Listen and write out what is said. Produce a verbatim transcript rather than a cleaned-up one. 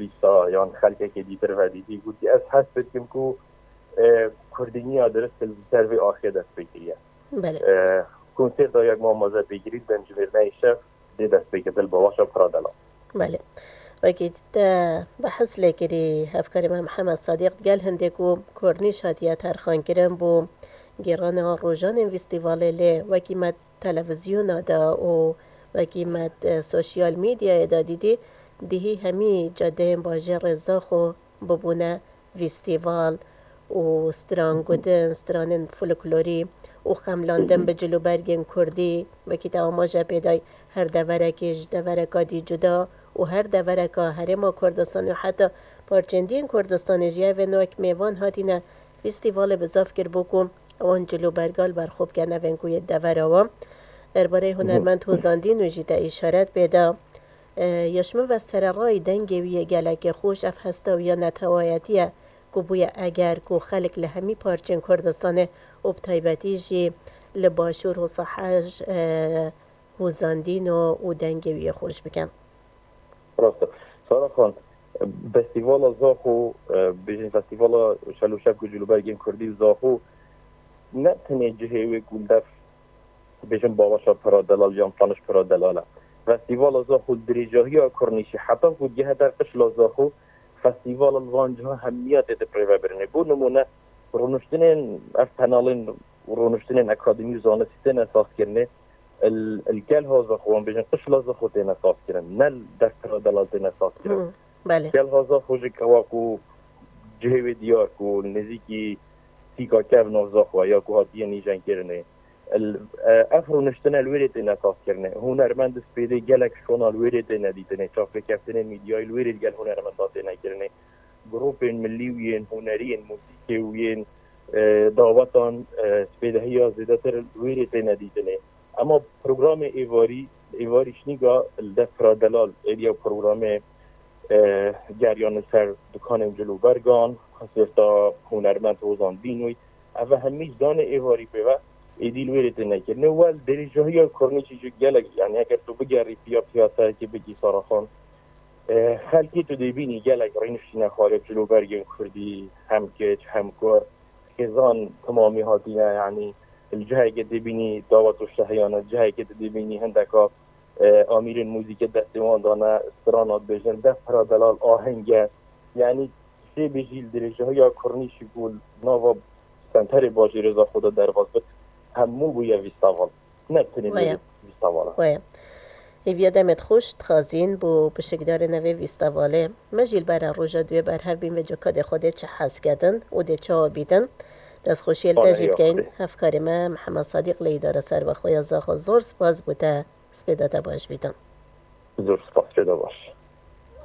lîsta yan xelkekê dîtir vedîtî, gotî, ez hest dikim ku, e, kurdîniya dirist li ser vê axê dest pê kiriye. Belê. E, konser da yek mamoze pêkirî, dencivêrneyê şev dê dest pê kirin li bawaşa pira delal. Belê. Wekî te behs lê kirî, hevkarê me Mihemed Sadiq, digel hindê ku kornîş hatiye terxankirin bo gêrana rojanên festîvalê, lê wekî me televîzyona de û wekî me, e, sosyal medyayê de dîtî, dihî hemî cadeyên bajêrê Zaxo bibûne festîval û strangutin, stranên folklorî û xemlandin bi cilûbergên kurdî, wekî te amaje pê dayî, her deverekê ji devereka dî cuda û her devereka Herêma Kurdistanê û heta parçên dî yên Kurdistanê jî evên wek mêvan hatîne festîvalê bi zaf kir bû ku wan cilûberga li ber xwe bikin, evên ku yê devera wan. Derbarê hunermend Hozan Dîno jî te îşaret pê da. E, ya ji min ve sererayî dengê wî yê gelekê xweş, ev hesta wî ya netewayetî ye ku bûye eger ku xelk li hemî parçên Kurdistanê û bi taybetî jî li Başûr û Sehel, e, Hozan Dîno û dengê wî yê xweş bikin. Rast e. Sara Xan, festîvala Zaxo, e, bêjin festîvala Şel û Şevk û Cilûbergên Kurdî û Zaxo ne tenê cihê wê ku li dev, bêjin, bawaşa pira delal yan paniş pira delal e. Festîvala Zaxo dirêjahiya kornîşê heta ku digihete qişla Zaxo, festîvala li van ciha hemiya tê dipirêvebirinê. Bo nimûne, rûniştinên ev penalên rûniştinên akademî û zanistî têne sazkirinê. Li, li Kelha Zaxo, wan bêjin, qişla Zaxo têne sazkirin. Ne li dev pira delal têne sazkirin. Hı, belê. Kelha Zaxo jî kewa ku cihê wê diyar ku nêzîkî sîka kevna Zaxo ya ku hatiye nîjenkirinê. Li, e, ev rûniştine li wêrê têne sazkirinê. Hunermend spêdê gelek şona li wêrê têne dîtinê. Çavpêkeftinên mîdyayî li wêrê digel hunermenda têne kirinê. Grûpên milî û yên hunerî, yên muzîkê û yên, e, dawetan, e, spêdehiya zêdetir li wêrê têne dîtinê. Ema programê êvarî, êvarî şinîga li dev pira delal êdiya programê, e, geriyan li ser dukanên cilûbergan, konserta hunermend Hozan Dînoy, ev hemî ji danê êvarî pê ve êdî li wêrê têne kirinê. Wel, dirêjahiya kornîşî jî gelek, yani eger tu bigerî piya piyasayekê bikî Sara Xan, e, xelkê tu dê bînî gelek rêniştîne xwarê cilûbergên kurdî, hem kiç, hem kur, xêzan timamî hatîne, yani li cihekê dê bînî dawet û şehiyane, cihekê tu dê bînî hindeka, e, amîrên muzîkê destê wan dane, strana dibêjin, dev pira delal ahenge. Yani sê bêjî li dirêjahiya kornîşî ku nava senterê bajêrê Zaxo de derbas bit, hemû bûye festîval. Ne tenê Waya. Festîval e. Waya. Hêviya demê xweş dixwazîn bo pişikdarê nevê festîvalê. Me jî li bera roja duyê berhev bîn vê cokadê xwe dê çi hes kedin û dê çawa bîtin. Destxweşiyê li te Wala jî ya dikeyn. Xwedê. Hevkarê me Mihemed Sadiq li îdara serbexwe ya Zaxo, zor spas bo te. Spêda te baş bîtin. Zor spas, spêda baş.